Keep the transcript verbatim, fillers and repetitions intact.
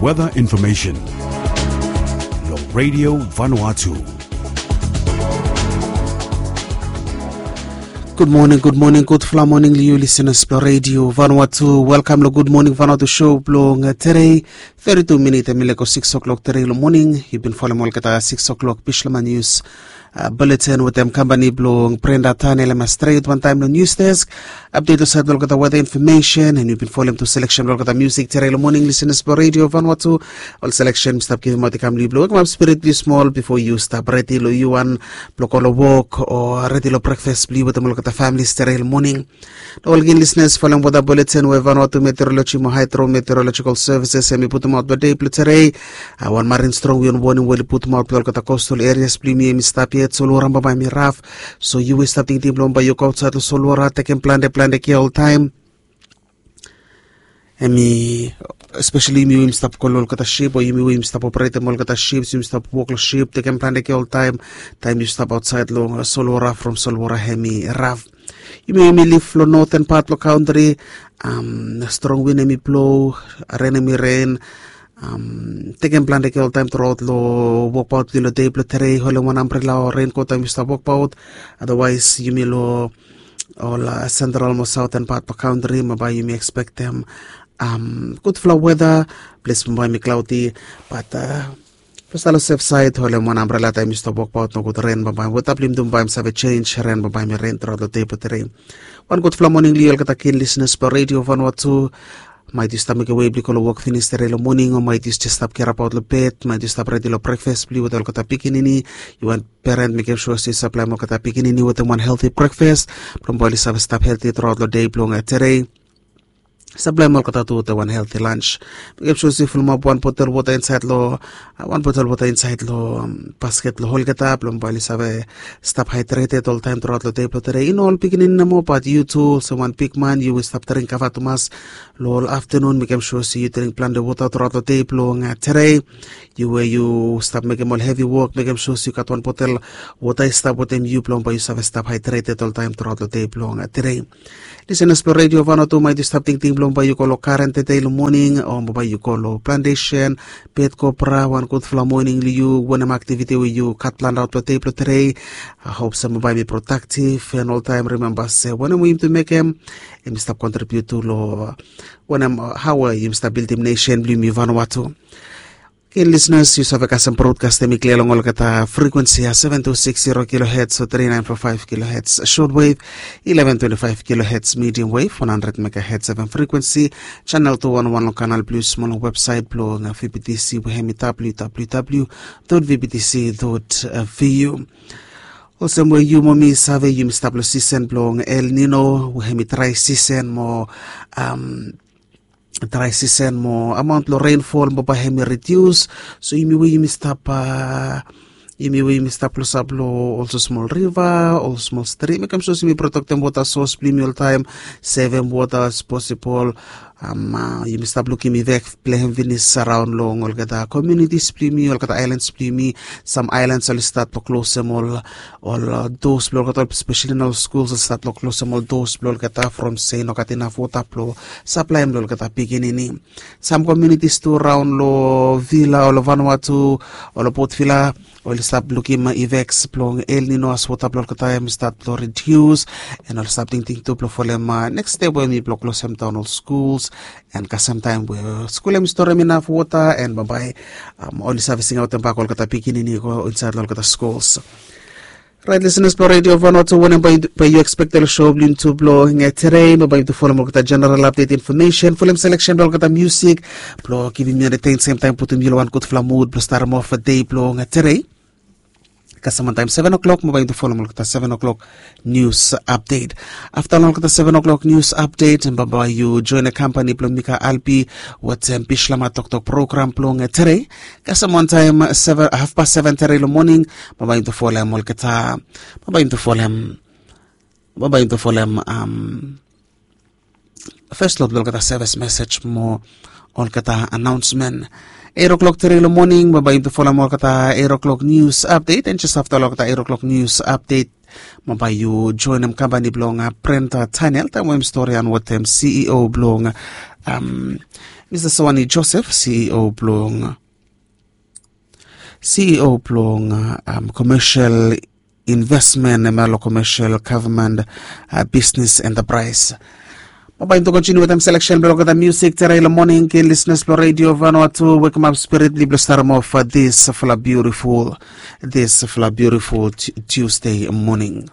Weather information. Long Radio Vanuatu. Gud moning, gud moning, gudfala moning long yu lisenas blong Radio Vanuatu. Welkam long Gud Moning Vanuatu show blong, uh, tere. Thirty-two minit em i lego six o'clock tere long moning. Yu bin folem olgeta six o'clock Bislama News, uh, bulletin wetem kampani blong Brenda Tanel em stret wantaem long news desk. Update olsait long olgeta weather information, and yu bin folem tu selection blong olgeta music tere long moning, lisenas blong Radio Vanuatu. Ol selection mi stap givimaot i kam long yu blong wekemap spirit blong yu smol bifo yu stap redi long yu wan blong go long wok o redi long breakfast blong yu wetem olgeta families tere long moning. Long olgin lisenas, folem weather bulletin we Vanuatu Meteorology mo Hydrometeorological Services em i putumaot blong dei blong tere. A, wan marin strong wind warning we oli putumaot blong olgeta coastal areas blong yumi em i stap yet. Solwara bambae em i raf. So yu we stap tingting blong bae yu go ausait long solwara, tekem plante plante kea oltaem. Em i, especially yumi we yumi stap go long olgeta sip o yumi we yumi stap operetem olgeta sip, yumi stap wok long sip, tekem plante kea oltaem. Taem yu stap ausait long, uh, solwara, from solwara em i raf. Yumi we yumi lif long noten pat blong kantri, am, strong win em i blo, ren em i ren. Am, tekem plante kea oltaem truaot long wokbaot blong yu long dei blong tere. Holem wan ambrela o renkot taem yu stap wokbaot. Otherwise yumi long ol, uh, central mo southern part blong kantri, bambae yumi ekspektem, am, gudfala weather. Ples bambae em i cloudy, bat, uh, blong stap long safe side, holem wan ambrela taem yu stap wokbaot, nogud ren bambae, weather blong yumi tu bambae em save jenis, ren bambae em i ren truaot long dei blong tere. Wan gudfala moning long yu olgeta kin lisenas blong Radio Vanuatu. Maet yu stap mekem wei blong yu go long wok finis tere long moning, o maet yu jes stap kerabaot long bed, maet yu stap redi long breakfast blong yu wetem olgeta pikinini. Yu wan parent, mekem sua se yu saplaem olgeta pikinini wetem wan healthy breakfast blong bae oli save stap healthy truaot long dei blong, uh, tere. Saplaem olgeta tu wetem wan healthy lunch. Mekem sua se yu fulumap wan botel wota insait long, uh, wan botel wota insait long, um, basket blong olgeta blong bae oli save stap hydrated oltaem truaot long dei blong tere. I no ol pikinini nomo, bat yu tu olsem wan bigman, yu we stap dring kava tumas long ol aftenun, mekem sua se yu dring plante wota truaot long dei blong, uh, tere. Yu we yu stap mekem ol hevi wok, mekem sua se yu gat wan botel wota i stap wetem yu blong bae yu save stap hydrated oltaem truaot long dei blong, uh, tere. Lisenas blong Radio Vanuatu, maet yu stap tingting blong bae yu go long garen tede long moning, o bae yu go long plantation, bed cobra, wan gudfala moning long yu. Wanem activity we yu gat planned out blong dei blong tere, a, hop se bambae em i productive, and oltaem rimemba se wanem we yumi tu mekem, em i stap contribute tu long, uh, wanem, uh, hao we yumi stap bildim nesen blong yumi Vanuatu. Ken lisenas, yu save kasem broadcast em i klia long olgeta frequency ya, seven two six zero kilohertz o three nine four five kilohertz shortwave, eleven twenty-five kilohertz medium wave, one hundred megahertz F M frequency, channel two one one long kanal blue small long website blong, uh, V B T C we em i W W W dot V B T C dot V U. Olsem we yu mo mi save, yumi stap long season blong El Nino we em i dry season mo, um, dry season mo amount blong rainfall bambae em i reduce. So yumi we yumi stap, uh, yumi we yumi stap klosap long olsem smol riva, ol smol strim, mekem sua se yumi protektem wota source blong yumi oltaem, sevem wota as possible. Um, uh, yumi stap lukim evac blong hem finis araon long olgeta communities blong yumi, olgeta islands blong yumi. Sam islands oli stat blong klosem ol, ol, uh, doors blong olgeta, especially na ol schools oli stat blong klosem ol doors blong olgeta from se i no gat inaf wota blong saplaem long olgeta pikinini. Sam communities tu raon long Vila, o long Vanuatu, o long Port Vila, oli stap lukim evacs blong El Nino as wota blong olgeta em i stat blong reduce, and oli stap tingting tu blong folem, uh, next step we em i blong klosem daon ol schools, and kasem taem we skul em i storem inaf wota, and bambae, um, oli save singaotem bak olgeta pikinini i go insaed long olgeta schools. Right, listeners blong Radio Vanuatu, wanem bae yu, bae yu expect long show blong yumi tu blong, uh, tere, bae yu tu folem olgeta general update information, folem selection blong olgeta music blong givim yu entertain, same time putum yu long wan gudfala mood blong starem off dei blong, uh, tere. Kasem wantaem seven o'clock, bae yu tu folem olgeta seven o'clock news update. Afta long olgeta seven o'clock news update, bambae yu join a company blong Mika Albi wetem Bislama Toktok program blong, uh, tere. Kasem wantaem seven, half past seven tere long moning, bambae yu tu folem olgeta, bambae yu tu folem, bambae yu tu folem, um, first lot blong olgeta service message mo olgeta announcement. Eight o'clock tere long moning, bambae yu tu folem olgeta eight o'clock news update, and jes afta long olgeta eight o'clock news update, bambae yu joinem company blong, uh, Brenda Tanel, taem we em storian wetem C E O blong, um, Mista Sawani Joseph, C E O blong C E O blong um, commercial investment, em ya lo commercial government uh, business enterprise. Baba into continue with them selection blong the music tera ilo morning ke listeners blong radio Vanuatu, wake up spirit blong start off uh, this fla beautiful this fla beautiful Tuesday morning.